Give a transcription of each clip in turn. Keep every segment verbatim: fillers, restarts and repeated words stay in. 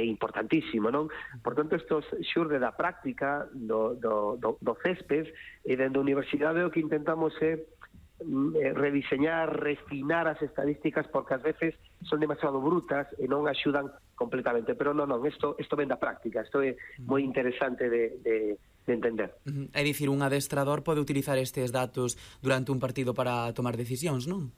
é importantísimo, non? Por tanto, isto xurde da práctica do, do, do, do césped, e dentro da universidade o que intentamos é rediseñar, refinar as estadísticas, porque ás veces son demasiado brutas e non axudan completamente, pero non, non, isto, isto ven da práctica, isto é moi interesante de, de, de entender. Uh-huh. É dicir, un adestrador pode utilizar estes datos durante un partido para tomar decisións, non?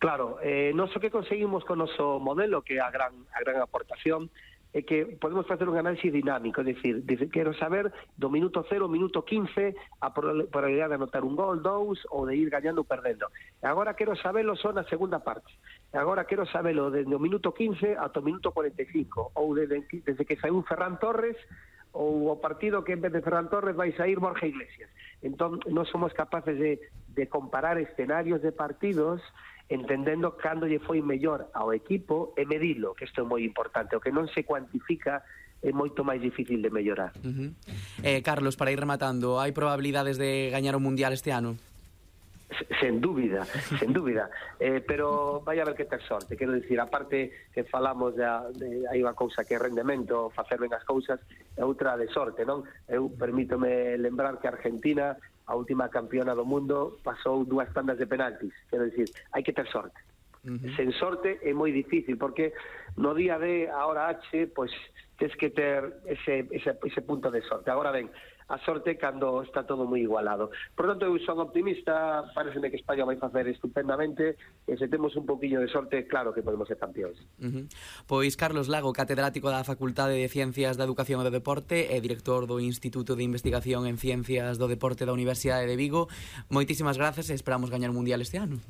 Claro, eh, non so que conseguimos con o noso modelo, que é a gran, a gran aportación, é que podemos facer un análisis dinámico, é dicir, quero saber do minuto cero ao minuto quince a probabilidade de anotar un gol, dous, ou de ir gañando ou perdendo. E agora quero sabelo só na segunda parte. E agora quero sabelo desde o minuto quince ata o minuto cuarenta e cinco, ou desde, desde que saiu Ferran Torres, ou o partido que en vez de Ferran Torres vai sair Borja Iglesias. Entón, non somos capaces de, de comparar escenarios de partidos entendendo cando lle foi mellor ao equipo e medilo, que isto é moi importante. O que non se cuantifica é moito máis difícil de mellorar. Uh-huh. eh, Carlos, para ir rematando, hai probabilidades de gañar o Mundial este ano? Sen dúbida, sen dúbida, eh, pero vai haber que ter sorte, quero dicir, aparte que falamos de, de hai unha cousa que é rendemento, facer ben as cousas, e outra de sorte, non? Eu permítome lembrar que Argentina, a última campeona do mundo, pasou dúas tandas de penaltis, quero dicir, hai que ter sorte. Uh-huh. Sen sorte é moi difícil, porque no día D, a hora H, pois tens que ter ese, ese, ese punto de sorte. Agora ben, a sorte cando está todo moi igualado. Por tanto, eu son optimista, pareceme que España vai facer estupendamente, e se temos un poquinho de sorte, claro que podemos ser campeóns. Uh-huh. Pois Carlos Lago, catedrático da Facultade de Ciencias da Educación e do Deporte e director do Instituto de Investigación en Ciencias do Deporte da Universidade de Vigo, moitísimas grazas e esperamos gañar o Mundial este ano.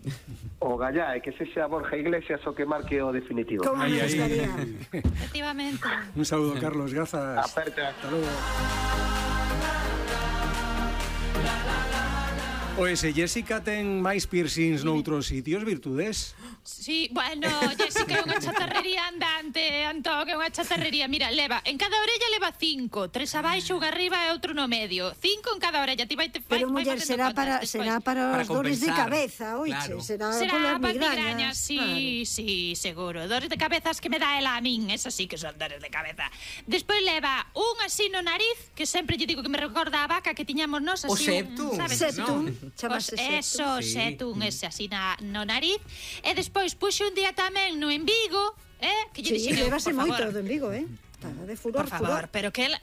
O gallá, e que se xa Borja Iglesias o que marque o definitivo. Como Ahí, nos ahí. gustaría. Efectivamente. Un saludo, Carlos, grazas. Aperta. Hasta luego. Oese, Jessica ten máis piercings noutros sitios, virtudes? Sí, bueno, Jessica é unha chatarrería andante, Antón, é unha chatarrería. Mira, leva, en cada orella leva cinco, tres abaixo, unha arriba e outro no medio. Cinco en cada orella, ti vai te Pero, muller, será para, será para, para os dores de cabeza, oiche, claro. será, Será polas para migrañas. migrañas, sí, claro. sí, seguro. Dores de cabezas que me dá ela a min, esas sí que son dores de cabeza. Despois leva un así no nariz, que sempre lle digo que me recorda a vaca que tiñamos nos, así O septum, un, sabes? Septum, Os, chamase eso, Sí. septum, ese así na, no nariz. E despois puxe un día tamén no embigo, eh, que lle Sí, dixen, levase por moito favor, do embigo, eh? Está de furor, por favor, furor. pero que ela...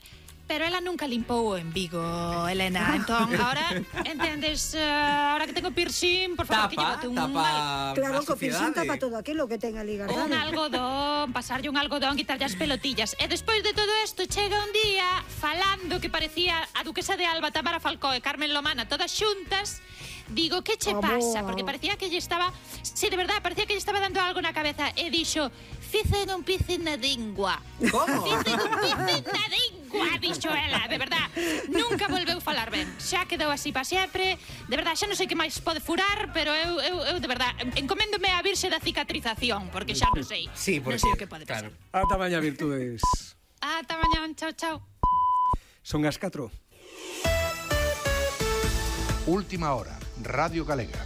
Pero ela nunca limpou o embigo, Elena. Entón, ahora, entendes, uh, ahora que tengo piercing, por favor, que Tapa, llevote un tapa Claro, a co piercing sociedade. tapa todo aquilo que ten ali un guardado. algodón, pasarlle un algodón, quitarlle as pelotillas. E despois de todo isto chega un día falando que parecía a duquesa de Alba, Tamara Falcó e Carmen Lomana todas xuntas. Digo, que che Amor. pasa? Porque parecía que lle estaba, sí, de verdad, parecía que lle estaba dando algo na cabeza. E dixo, fice non pice na dingua. Como? Fice non pice na dingua, dixo ela, de verdad. Nunca volveu falar ben. Xa quedou así para sempre. De verdad, xa non sei que máis pode furar, pero eu, eu, eu de verdad, encoméndome a virxe da cicatrización, porque xa non sei. Sí, non porque, sei o que pode pasar. claro. Ata mañá, virtudes. Ata mañán, chao, chao. Son as catro. Última hora, Radio Galega.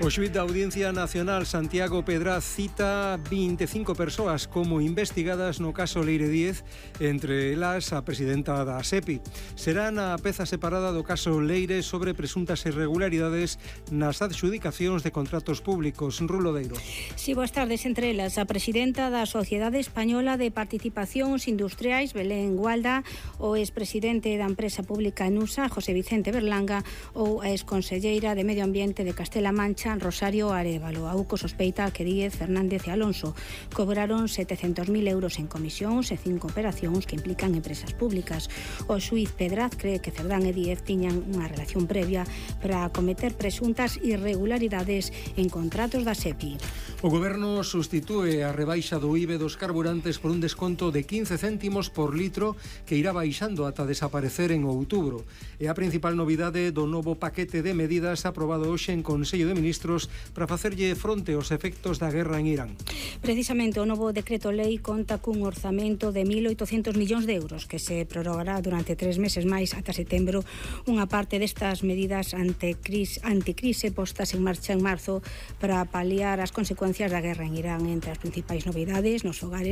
O xuíz da Audiencia Nacional Santiago Pedraz cita vinte e cinco persoas como investigadas no caso Leire Díez, entre elas a presidenta da SEPI. Será na peza separada do caso Leire sobre presuntas irregularidades nas adxudicacións de contratos públicos. Rulo Deiro. Si, boas tardes. Entre elas, a presidenta da Sociedade Española de Participacións Industriais, Belén Gualda, o expresidente da empresa pública Nusa, José Vicente Berlanga, ou a exconselleira de Medio Ambiente de Castela Mancha, Rosario Arévalo. A U C O sospeita que Díez, Fernández e Alonso cobraron setecentos mil euros en comisións e cinco operacións que implican empresas públicas. O xuíz Pedraz cree que Cerdán e Díez tiñan unha relación previa para cometer presuntas irregularidades en contratos da SEPI. O Goberno sustitúe a rebaixa do I V A dos carburantes por un desconto de quince céntimos por litro que irá baixando ata desaparecer en outubro. É a principal novidade do novo paquete de medidas aprobado hoxe en Consello de Ministros para facerlle fronte aos efectos da guerra en Irán. Precisamente o novo decreto lei conta cun orzamento de mil oitocentos millóns de euros que se prorrogará durante tres meses máis ata setembro. Unha parte destas medidas anticrise, anticrise postas en marcha en marzo para paliar as consecuencias da guerra en Irán. Entre as principais novidades nos hogares